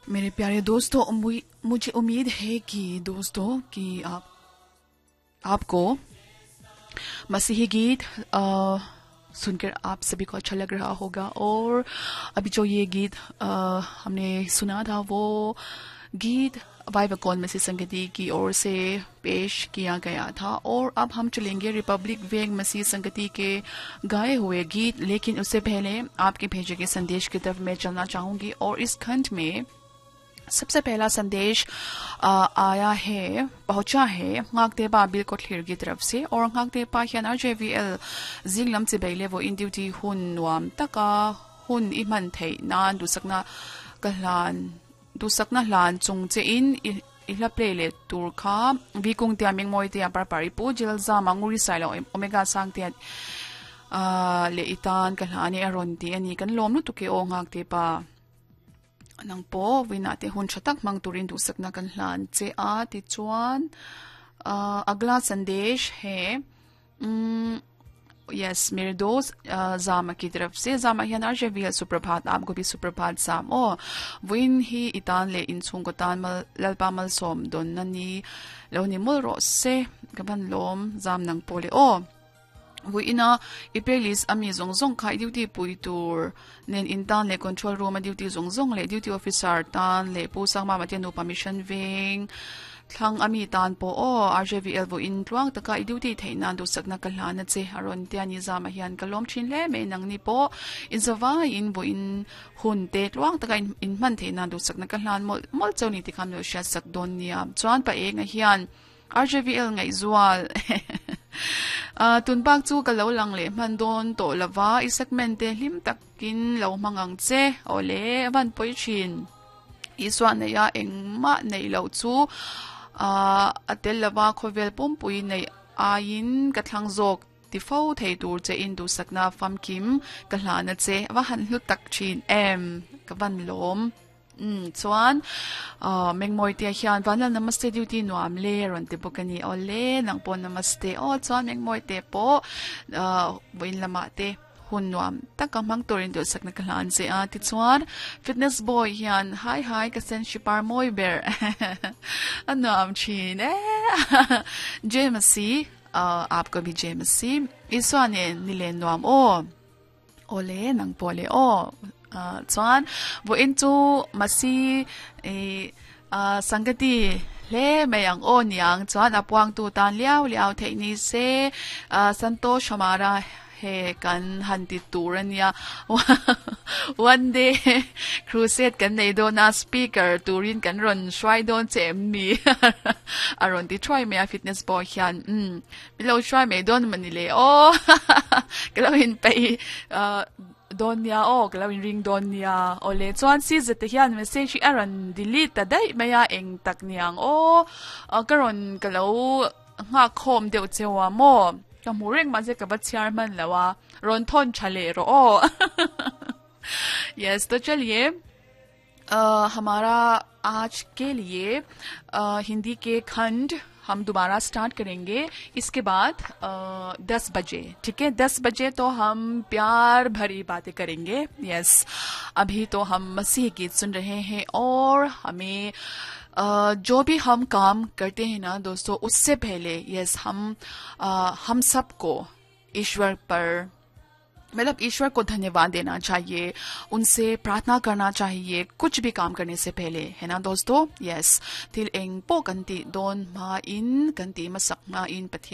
मेरे प्यारे दोस्तों, मुझे उम्मीद है कि दोस्तों कि आप आपको मसीही गीत सुनकर आप सभी को अच्छा लग रहा होगा। और अभी जो ये गीत हमने सुना था, वो गीत वाइवकॉन मसीह संगति की ओर से पेश किया गया था। और अब हम चलेंगे रिपब्लिक वेग मसीह संगति के गाए हुए गीत, लेकिन उससे पहले आपके भेजे गए संदेश की तरफ मैं चलना चाहूंगी। और इस खंड में सबसे पहला संदेश आया है, पहुंचा है ngakte बिल कोथlir की तरफ से। और ngakte pa hian RJVL zinglam chibai le vawiin duty hun nuam taka hun i hman thei nan dusakna ka hlan dusakna hlan chung che in i hla play le tur kha vikung tia mingmoi tia par pari pu jil zama nguri sailo omega sang tia le itan ka hlani aron ti ani. Kan lom lu tuke o ngakte pa, nang po wina te hun thatak mang turin du sakna kan hlan che a. Ti chuan अगला संदेश है, यस, मेरे दोस्त जामा की तरफ से। Jama hian RJVL सुप्रभात। आपको भी सुप्रभात जाम। ओ win hi itan le in chung ko tan mal lalpa mal som don na ni lo ni mul ro se. Kaban lom zam, nang pole o vuina i playlist ami zong zong khai duty pui tur nen in tan le control room a duty zong zong le duty officer tan le pu sang ma ma te nu permission veng thlang ami tan po o. RJVL vo in tluang taka i duty theina du sakna ka hlana che aron tia ni. Zama hian ka lom thin le me. Nang ni po in zawa in vo in hun te tluang taka in man theina du sakna ka hlan mol mol chawni ti kham lo sha sak don nia. Chuan pa enga hian RJVL ngai zual tun bak chu ka lo lang le man don to lawa, i segment te hlim takin lo mangang che ole van poi thin iswa nei a engma nei lo chu atel lawa khovel pumpui nei ain ka thlang zawk ti fo thei tur che in du sakna famkim ka hlana che. Wa han hlu tak thin em, ka van lom. Chuan mengmoi te hian vanal namaste, duty nuam le ron te bokani ole. Nang po namaste o. Chuan mengmoi te po voin lama te hun nuam taka mang turin du sakna ka hlan che a. Ti chuan fitness boy hian hi hi, ka sen shipar moi ber anuam thin e. JMC, आपको भी JMC. Iswane nile nuam o ole, nang po le o. Chuan vo in chu masi e sangati le mayang o niang. Chuan apuang tu tan liao liao thei ni se santosh hamara he kan han ti tur ania. One day crusade kan nei do na, speaker turin kan ron shwai don che mi aron ti try me a fitness boy hian. Mi lo try me don mani le o, kalo in pe don nia o, kalo in ring don nia ole. Chuan si zete hian message aron delete ta dai maya, eng tak niang o. Karon kalo nga khom deuh chewa mo ka mu reng ma je ka ba chiar man lawa ron thon chale ro o. Yes, तो चलिए हमारा आज के लिए हिंदी के खंड हम दोबारा स्टार्ट करेंगे इसके बाद 10 बजे, ठीक है? 10 बजे तो हम प्यार भरी बातें करेंगे। यस, अभी तो हम मसीह गीत सुन रहे हैं। और हमें जो भी हम काम करते हैं ना दोस्तों, उससे पहले, यस, हम सबको ईश्वर पर, मतलब ईश्वर को धन्यवाद देना चाहिए, उनसे प्रार्थना करना चाहिए कुछ भी काम करने से पहले, है ना दोस्तों? Yes, thil eng po kan ti don ma in kan ti masak ma in pathian